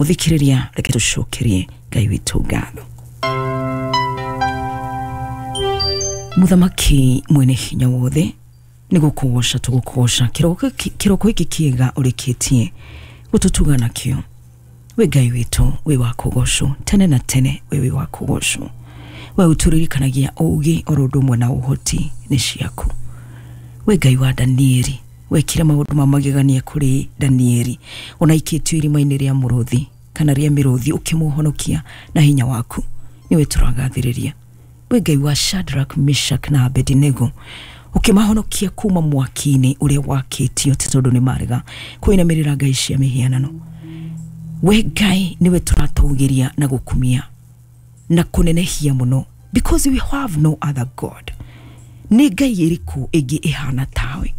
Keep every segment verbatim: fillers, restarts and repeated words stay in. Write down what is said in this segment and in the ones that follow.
Muthikiriria, reke tucokerie Ngai witũ ngatho. Muthamaki mwene hinya wothe, nĩ gũkũgoca tũgũkũgoca kĩroko gĩkĩ kĩega ũrĩkĩtie gũtũtuga nakĩo. We Ngai witũ wĩ wa kũgocwo tene na tene, we wĩ wa kũgocwo. We ũtũririkanagia ũũgĩ oro ũndũ ũmwe na ũhoti nĩ ciaku. We Ngai wa Danieli, wekire maũndũ ma magegania kũrĩ Danieli ona ikĩtio irima-inĩ rĩa mũrũthi kana rĩa mĩrũthi, ũkĩmũhonokia na hinya waku, nĩwe tũragathĩrĩria. We Ngai wa Shadrach, Meshach na Abednego, ũkĩmahonokia kuma mwaki-inĩ ũrĩa wakĩtio ti tondũ nĩ marega kũinamĩrĩra ngai cia mĩhianano. We Ngai nĩwe tũratũgĩria na gũkumia na kũnenehia mũno, because we have no other God. Nĩ Ngai ĩrĩkũ ĩngĩ ĩhana tawe?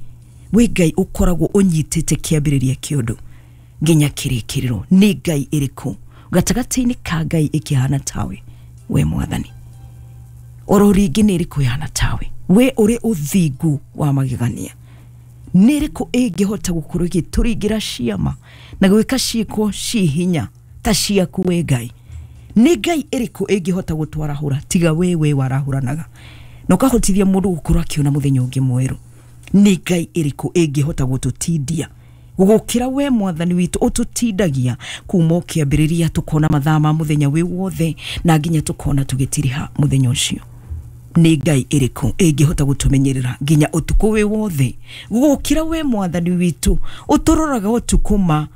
We Ngai ũkoragwo ũnyitĩte kĩambĩrĩria kĩa ũndũ nginya kĩrĩkĩrĩro. Nĩ Ngai ĩrĩkũ gatagatĩ-inĩ ka Ngai ĩkĩhana tawe, we Mwathani? Oro rĩngĩ nĩ ĩrĩkũ ĩhana tawe, we ũrĩ ũthingu wa magegania? Nĩ ĩrĩkũ ĩngĩhota gũkorwo ĩgĩtũringĩra ciama na gwĩka ciĩko ciĩ hinya ta ciaku, we Ngai? Nĩ Ngai ĩrĩkũ ĩngĩhota gũtwarahũra tiga we we warahũranaga na ũkahotithia mũndũ gũkorwo akĩona mũthenya ũngĩ mwerũ? Nĩ Ngai ĩrĩkũ ĩngĩhota gũtũtindia gũgũkĩra we Mwathani witũ ũtũtindagia kuma ũkĩambĩrĩria tũkona mathaa ma mũthenya wĩ wothe na nginya tũkona tũgĩtiriha mũthenya ũcio? Nĩ Ngai ĩrĩkũ ĩngĩhota gũtũmenyerera nginya ũtukũ wĩ wothe gũgũkĩra we Mwathani witũ ũtũroraga ũtukũ ma,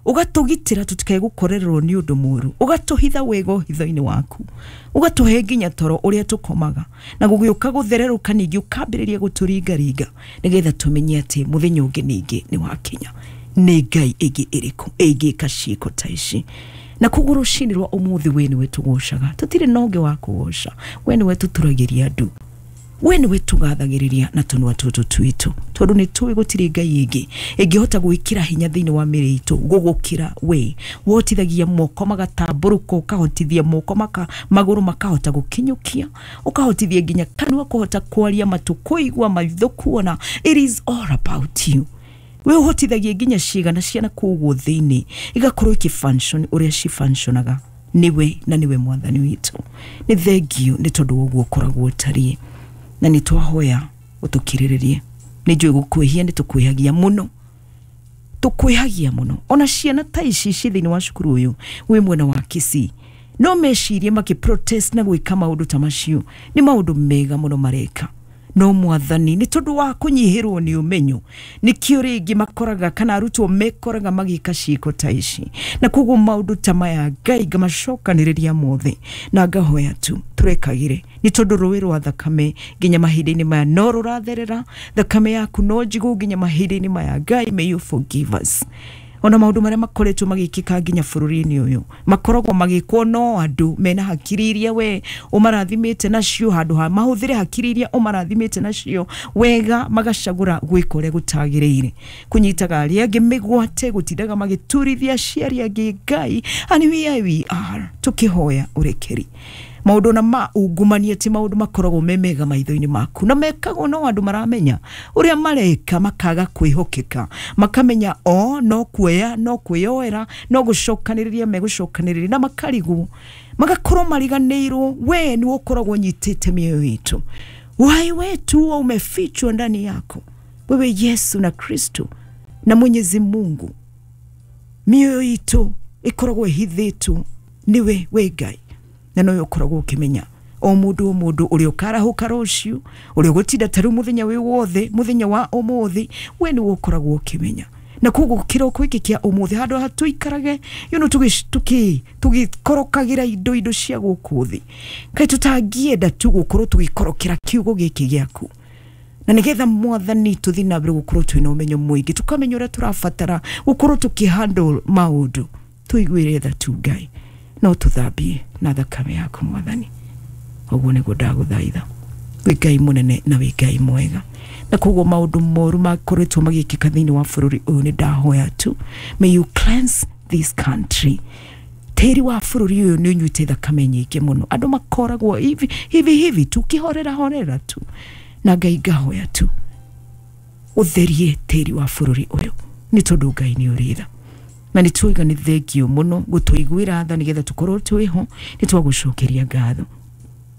ũgatũgitĩra tũtikae gũkorererwo nĩ ũndũ mũũru, ũgatũhitha wega ũhitho-inĩ waku, ũgatũhe nginya toro ũrĩa tũkomaga, na gũgĩũka gũthererũka ningĩ ũkambĩrĩria gũtũringaringa nĩgetha tũmenye atĩ mũthenya ũngĩ ningĩ nĩ wakinya. Nĩ Ngai ĩngĩ ĩrĩkũ ĩngĩka ciĩko ta ici? Na koguo rũcinĩ rwa ũmũthĩ we nĩwe tũgocaga, tũtirĩ na ũngĩ wa kũgoca. We nĩwe tũturagĩria andũ, we nĩwe tũgathagĩrĩria na tũnua tũtũ twitũ, tondũ nĩ tũĩ gũtirĩ Ngai ĩngĩ ĩngĩhota gwĩkĩra hinya thĩinĩ wa mĩĩrĩ itũ gũgũkĩra we. Wohotithagia moko magatambũrũka, ũkahotithia moko maka magũrũ makahota gũkinyũkia, ũkahotithia nginya kanua kũhota kwaria, matũ kũigua, maitho kuona. It is all about you. We ũhotithagia nginya ciĩga na ciana kũguo thĩinĩ igakorwo ikĩ-function ũrĩa ci-functionaga. Nĩwe na nĩwe Mwathani witũ. Nĩ thengiũ nĩ tondũ wa ũguo ũkoragwo ũtariĩ, na nĩ twahoya ũtũkirĩrĩrie. Nĩ njũĩ gũkwĩhia nĩ tũkwĩhagia mũno, tũkwĩhagia mũno. Ona ciana ta ici ci thĩinĩ wa cukuru ũyũ wĩ mwena wa Kisii no mecirie makĩ protest na gwĩka maũndũ ta macio nĩ maũndũ mega mũno mareka, no Mwathani nĩ tondũ wa kũnyihĩrwo nĩ ũmenyo nĩkĩo rĩngĩ makoraga kana arutwo mekoraga magĩka ciĩko ta ici. Na koguo maũndũ ta maya Ngai ngamacokanĩrĩria mothe na ngahoya tu tũrekagĩre, nĩ tondũ rũĩ rwa thakame nginya mahinda-inĩ maya no rũratherera, thakame yaku no njigũ nginya mahinda-inĩ maya. Ngai, may you forgive us. Ona maũndũ marĩa makoretwo magĩkĩka nginya bũrũri-inĩ ũyũ makoragwo magĩkwo no andũ mena hakiri iria we ũmarathimĩte nacio, handũ ha mahũthĩre hakiri iria ũmarathimĩte nacio wega, magacagũra gwĩka ũrĩa gũtagĩrĩire, kũnyitaga arĩa angĩ mĩgwate, gũtindaga magĩturithia aciari angĩ. Ngai, and here we are tũkĩhoya ũrekeri. Maũndũ na ma ungumania ti maũndũ makoragwo me mega maitho-inĩ maku, na mekagwo no andũ maramenya ũrĩa mareka, makaga kwĩhokeka, makamenya o no kuoya no kwĩyoera no gũcokanĩrĩria megũcokanĩrĩria, na makarigwo magakorwo mariganĩirwo we nĩwe ũkoragwo ũnyitĩte mĩoyo itũ. Uhai wetu huo umefichwa ndani yako wewe Yesu na Kristo na Mwenyezi Mungu. Mĩoyo itũ ĩkoragwo ĩhithĩtwo nĩwe we Ngai, na nowe ũkoragwo ũkĩmenya o mũndũ o mũndũ ũrĩa ũkarahũka rũciũ, ũrĩa ũgũtinda ta rĩu mũthenya wĩ wothe, mũthenya wa ũmũthĩ, we nĩwe ũkoragwo ũkĩmenya. Na koguo kĩroko gĩkĩ kĩa ũmũthĩ handũ ha tũikarage you know, tũgĩ tũgĩkorokagĩra indo indo cia gũkũ thĩ, kaĩ tũtangĩenda tu gũkorwo tũgĩkorokera kiugo gĩkĩ gĩaku, na nĩgetha Mwathani tũthiĩ na mbere gũkorwo twĩna ũmenyo mũingĩ, tũkamenya ũrĩa tũrabatara gũkorwo tũkĩhandle maũndũ. Tũiguĩre tha tu Ngai, no tũthambie na thakame yaku Mwathani. Ũguo nĩguo ndagũthaitha. Wĩ Ngai mũnene na wĩ Ngai mwega. Na koguo maũndũ moru makoretwo magĩkĩka thĩinĩ wa bũrũri ũyũ nĩ ndahoya tu, may you cleanse this country. Tĩri wa bũrũri ũyũ nĩ ũnyuĩte thakame nyingĩ mũno, andũ makoragwo hivi hivi hivi tu kĩhorera horera tu, na Ngai ngahoya tu ũtherie tĩri wa bũrũri ũyũ, nĩ tondũ Ngai nĩ ũrĩ tha. Na nĩ tuiga nĩ thengio mũno gũtũiguĩra tha nĩgetha tũkorwo twĩho, nĩ twagũcokeria ngatho.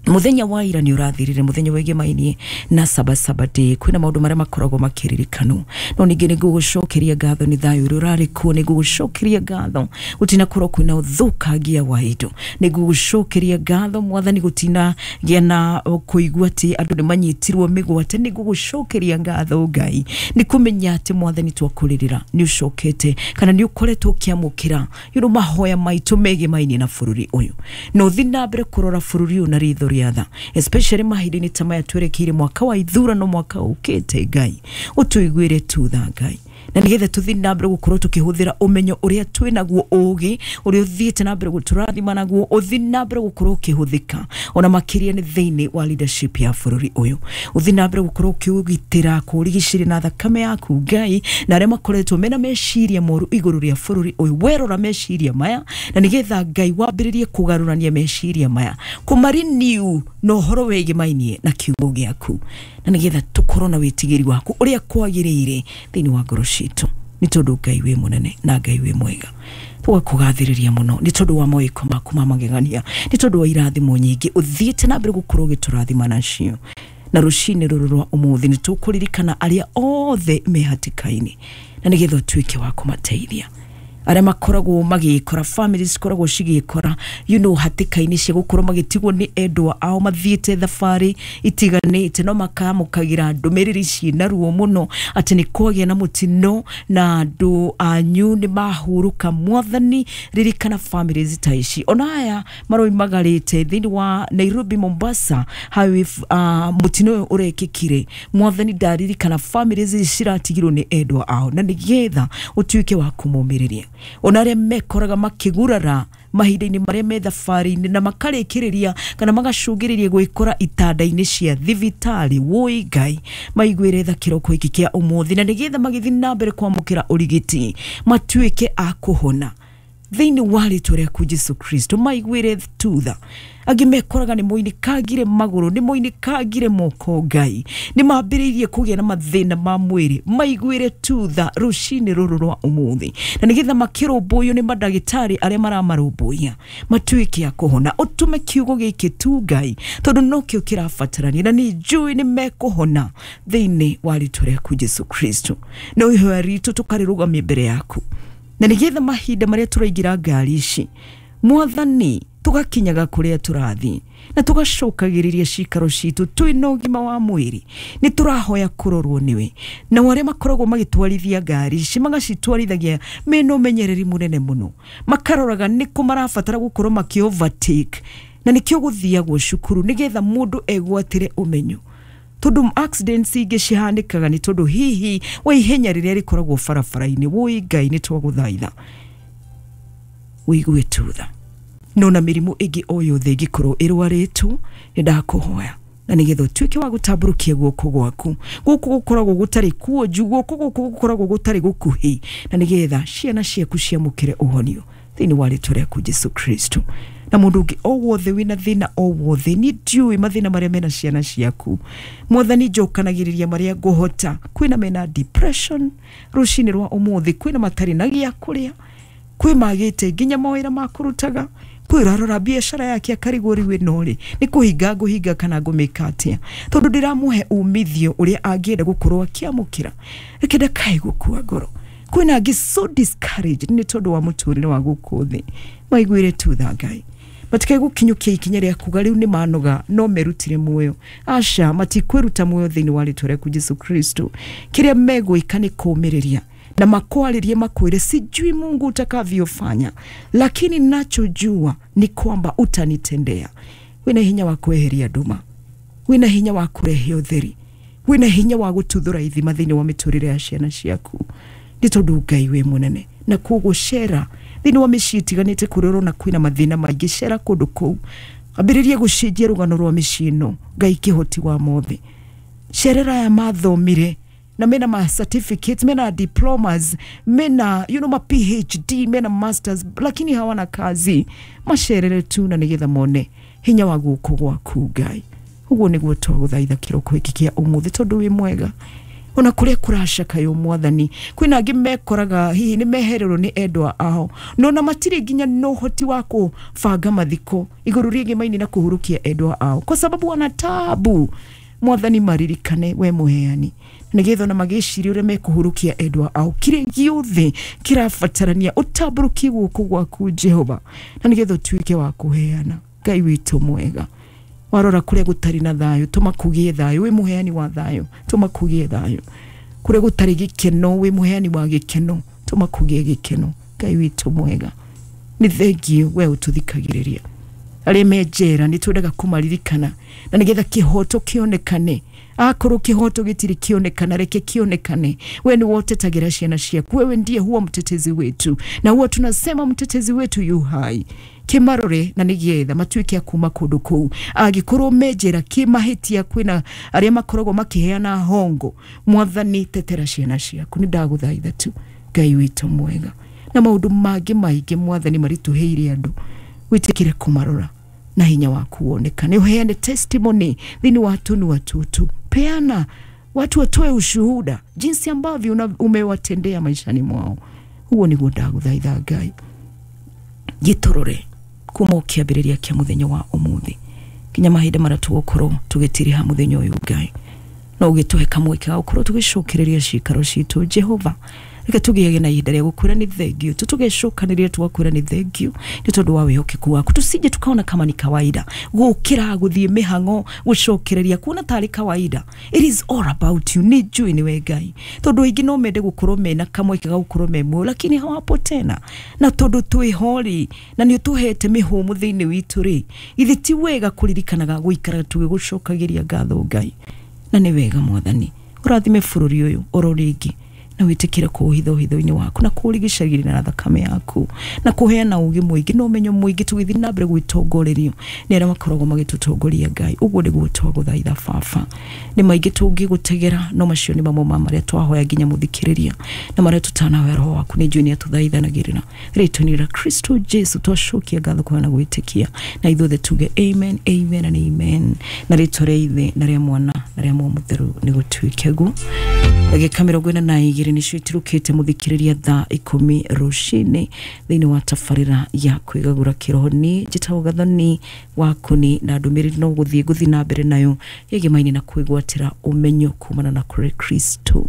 Muthenya wa ira nĩ ũrathirire, muthenya wĩgĩmainie na Sabasaba Day, kwĩna maũndũ marĩa makoragwo makĩririkanwo. No ningĩ nĩ ngũgũcokeria ngatho nĩ thayũ ũrĩa ũrarĩ kuo, nĩ ngũgũcokeria ngatho gũtinakorwo kwĩna ũthũkangia wa indo, nĩ ngũgũcokeria ngatho Mwathani gũtinagĩa na kũigua atĩ andũ nĩ manyitirwo mĩgwate, nĩ ngũgũcokeria ngatho Ngai nĩ kũmenya atĩ Mwathani twakũrĩrĩra nĩ ũcokete kana nĩ ũkoretwo ũkĩamũkĩra you know, mahoya maitũ megĩmainie na bũrũri ũyũ. Na ũthiĩ na mbere kũrora bũrũri ũyũ na ritho rĩa tha, especially mahinda-inĩ ta maya twerekeire mwaka wa ithurano, mwaka ũkĩte. Ngai ũtũiguĩre tu tha Ngai, na nĩgetha tũthiĩ na mbere gũkorwo tũkĩhũthĩra ũmenyo ũrĩa twĩ naguo, ũgĩ ũrĩa ũthiĩte na mbere gũtũrathima naguo, ũthiĩ na mbere gũkorwo ũkĩhũthĩka ona makĩria nĩ thĩinĩ wa leadership ya bũrũri ũyũ. Ũthiĩ na mbere gũkorwo ũkĩũgitĩra, kũũrigicĩria na thakame yaku Ngai, na arĩa makoretwo mena meciria moru igũrũ rĩa bũrũri ũyũ, werora meciria maya na nĩgetha Ngai wambĩrĩrie kũgarũrania meciria maya, kũmarenew na ũhoro wĩgĩmainie na kiugo gĩaku, na nĩgetha tũkorwo na wĩtigĩri waku ũrĩa kwagĩrĩire thĩinĩ wa ngoro citũ. Nĩ tondũ Ngai wĩ mũnene na Ngai wĩ mwega, tũgakũgathĩrĩria mũno nĩ tondũ wa mawĩko maku ma magegania, nĩ tondũ wa irathimo nyingĩ ũthiĩte na mbere gũkorwo ũgĩtũrathima nacio. Na rũcinĩ rũrũ rwa ũmũthĩ nĩ tũkũririkana arĩa othe me hatĩka-inĩ, na nĩgetha ũtuĩke wa kũmateithia. Arĩa makoragwo magĩkora, families cikoragwo cigĩkora you know, hatĩka-inĩ cia gũkorwo magĩtigwo nĩ endwa ao mathiĩte thabarĩ itiganĩte, no makamũkagĩra ndũmĩrĩri ciĩna ruo mũno atĩ nĩ kwagĩa na mũtino na andũ anyu nĩ mahurũka. Mwathani ririkana families ta ici, ona aya maroimagarĩte thĩinĩ wa Nairobi Mombasa highway, uh, mũtino ũyũ ũrekĩkire. Mwathani ndaririkana families ici ciratigirwo nĩ endwa ao, na nĩgetha ũtuĩke wa kũmomĩrĩria. Ona arĩa mekoraga makĩgurara mahinda-inĩ marĩa me thabarĩ-inĩ na makarĩkĩrĩria kana magacũngĩrĩria gwĩkora itanda-inĩ cia thibitarĩ, woi Ngai maiguĩre tha kĩroko gĩkĩ kĩa ũmũthĩ, na nĩgetha magĩthiĩ na mbere kwamũkĩra ũrigiti matuĩke a kũhona thĩinĩ wa rĩtwa rĩaku Jesu Kristo. Maiguĩre tu tha. Angĩ mekoraga nĩ moinĩkangire magũrũ, nĩ moinĩkangire moko Ngai, nĩ mambĩrĩirie kũgĩa na mathĩna ma mwĩrĩ, maiguĩre tu tha rũcinĩ rũrũ rwa ũmũthĩ, na nĩgetha makĩrũmbũiyo nĩ mandagĩtarĩ arĩa maramarũmbũiya matuĩke a kũhona. Ũtũme kiugo gĩkĩ tu Ngai, tondũ nokĩo kĩrabatarania, na nĩ njũĩ nĩ mekũhona thĩinĩ wa rĩtwa rĩaku Jesu Kristo. No ihoya ritũ tũkarĩrũgamia mbere yaku, na nĩgetha mahinda marĩa tũraingĩra ngari ici Mwathani tũgakinyaga kũrĩa tũrathiĩ na tũgacokagĩrĩria cikaro citũ twĩna ũgima wa mwĩrĩ. Nĩ tũrahoya kũrorwo nĩwe, na arĩa makoragwo magĩtwarithia ngari ici magacitwarithagia mena ũmenyereri mũnene mũno, makaroraga nĩkũ marabatara gũkorwo makĩ overtake, na nĩkĩo gũthiagwo cukuru nĩgetha mũndũ egwatĩre ũmenyo, tondũ accidents ingĩ cihanĩkaga nĩ tondũ hihi wa ihenya rĩrĩa rĩkoragwo barabara-inĩ. Woi Ngai nĩ twagũthaitha wĩigue tu tha. No na mĩrimũ ĩngĩ o yothe ĩngĩkorwo ĩrwarĩtwo, nĩ ndakũhoya na nĩgetha ũtuĩke wa gũtambũrũkia guoko gwaku, gũkũ gũkoragwo gũtarĩ kuonju, guoko gũkũ gũkoragwo gũtarĩ gũkuhĩ, na nĩgetha ciana ciaku ciamũkĩre ũhonio thĩinĩ wa rĩtwa rĩaku Jesu Kristo. Na mũndũ ũngĩ o wothe wĩna thĩna o wothe, niĩ ndiũĩ mathĩna marĩa mena ciana ciaku, Mwathani njokanagĩrĩria marĩa ngũhota. Kwĩna mena depression rũcinĩ rwa ũmũthĩ, kwĩna matarĩ na gĩa kũrĩa, kwĩ magĩte nginya mawĩra ma kũrutaga, kwĩ ũrarora biacara yake akarigwo rĩu ĩno rĩ nĩ kũhinga ngũhinga kana ngũmĩka atĩa, tondũ ndĩramũhe umithio ũrĩa angĩenda gũkorwo akĩamũkĩra. Reke ndakae gũkua ngoro. Kwĩna angĩ so discouraged nĩ tondũ wa mũtũrĩre wa gũkũ thĩ, maiguĩre tu tha Ngai, matikae gũkinyũkia ikinya rĩa kuga rĩu nĩ manoga no merutire muoyo. Aca, matikwĩruta muoyo thĩinĩ wa rĩtwa rĩaku Jesu Kristo. Kĩrĩa megwĩka nĩ kũũmĩrĩria na makwarĩrie, makwĩre sijui Mungu utakavyofanya, lakini nachojua ni kwamba utanitendea. Wĩna hinya wa kweheria nduma, wĩna hinya wa kũrehe ũtheri, wĩna hinya wa gũtuthũra ithima thĩinĩ wa mĩtũrĩre ya ciana ciaku, nĩ tondũ Ngai wĩ mũnene. Na koguo cera thĩinĩ wa mĩciĩ ĩtiganĩte kũrĩa ũrona kwĩna mathĩna maingĩ, cera kũndũ kũu, ambĩrĩrie gũcenjia rũgano rwa mĩciĩ ĩno. Ngai kĩhoti wa mothe, cerera aya mathomire na mena ma certificates, mena diplomas, mena you know, ma P H D, mena masters, lakini hawana kazi. Macerere tu na nĩgetha mone hinya wa guoko gwaku Ngai. Ũguo nĩguo twagũthaitha kĩroko gĩkĩ kĩa ũmũthĩ, tondũ wĩ mwega. Ona kuria kuracakayo mwathani kwina angi mekoraga hihi ni mehererwo ni endwa ao no na matiri nginya no hoti wa kubanga mathiko iguru rĩgemaini na kuhurukia endwa ao kwa sababu wana tabu. Mwathani maririkane we muheani nigetha ona magĩciria ũrĩa mekũhurukia endwa ao kĩrĩa gĩothe kĩrabatarania ũtambũrũkie guoko gwaku Jehova na nigetha ũtuĩke wa kũheana. Ngai witũ mwega, warora kũrĩa gũtarĩ na thayũ tũma kũgĩe thayũ, wĩ mũheani wa thayũ tũma kũgĩe thayũ. Kũrĩa gũtarĩ gĩkeno wĩ mũheani wa gĩkeno tũma kũgĩe gĩkeno. Ngai witũ mwega, nĩ thengiũ we ũtũthikagĩrĩria. Arĩa me njera nĩ twendaga kũmaririkana na nĩgetha kĩhoto kĩonekane. Akorwo kĩhoto gĩtirĩ kĩonekana, reke kĩonekane. We nĩ wotetagĩra ciana ciaku, wewe ndiye huwa mtetezi wetu, na huwa tunasema mtetezi wetu yu hai. Kĩmarore na nĩgetha matuĩke a kuma kũndũ kũu. Angĩkorwo me njera kĩmahĩtia kwĩna arĩa makoragwo makĩheana hongo, mwathani tetera ciana ciaku. Nĩ ndagũthaitha tu Ngai witũ mwega, na maũndũ mangĩ maingĩ mwathani maritũhĩire andũ, wĩtĩkĩre kũmarora na hinya waku wonekane. Uheane testimony thĩinĩ wa tũnua tutu, peana watu watoe ushuhuda jinsi ambavyo umewatendea maishani mwao. Huo nĩguo ndagũthaitha Ngai. Gĩtũrore kuma ũkĩambĩrĩria kĩa mũthenya wa ũmũthĩ nginya mahinda marĩa tũgũkorwo tũgĩtiriha mũthenya ũyũ Ngai, no ũgĩtũhe kamweke ga gũkorwo tũgĩcokereria ciikaro citũ Jehova. Reke tũgĩage na ihinda rĩa gũkwĩra nĩ thengiũ tu, tũgecokanĩria tũgakwĩra nĩ thengiũ nĩ tondũ wa wĩhokeku waku. Tusije tukaona kama ni kawaida gũkĩra gũthiĩ mĩhang'o gũcokereria kuona tarĩ kawaida. It is all about you. Nĩ njũĩ nĩwe Ngai, tondũ aingĩ no mende gũkorwo mena kamweke ga gũkorwo me muoyo, lakini hawapo tena. Na tondũ twĩho rĩ, na nĩ ũtũhete mĩhũmũ thĩinĩ witũ rĩ, githĩ ti wega kũririkanaga gũikara tũgĩgũcokagĩria ngatho Ngai? Na nĩ wega mwathani ũrathime bũrũri ũyũ oro rĩngĩ na wĩtĩkĩre kũũhitha ũhitho-inĩ waku na kũũrigicagĩria na thakame yaku na kũheana ũũgĩ mũingĩ na ũmenyo mũingĩ tũgĩthiĩ na mbere gwĩtongorerio nĩ arĩa makoragwo magĩtũtongoria Ngai. Ũguo nĩguo twagũthaitha baba. Nĩ maingĩ tũngĩgũtegera, no macio nĩ mamwe ma marĩa twahoya nginya mũthikĩrĩria na marĩa tũtanahoya roho waku nĩ njũĩ nĩ atũthaithanagĩrĩra. Rĩtwa-inĩ rĩa Kristo Jesu twacokia ngatho kũheana gwĩtĩkia, na ithuothe tuge amen, amen and amen. Na rĩtwa rĩa Ithe na rĩa Mwana na rĩa Muoyo Mũtheru nĩ gũtuĩke guo. Ndagĩka mĩrongo ĩna na igĩrĩ nĩcio itirũkĩte mũthikĩrĩria thaa ikũmi rũcinĩ thĩinĩ wa tabarĩra ya kwĩgagũra kĩroho. Niĩ njĩtagwo Gathoni wa Kũni, na ndũmĩrĩri no gũthiĩ ngũthiĩ na mbere nayo yegemaine na kwĩgwatĩra ũmenyo kumana na kũrĩ Kristo.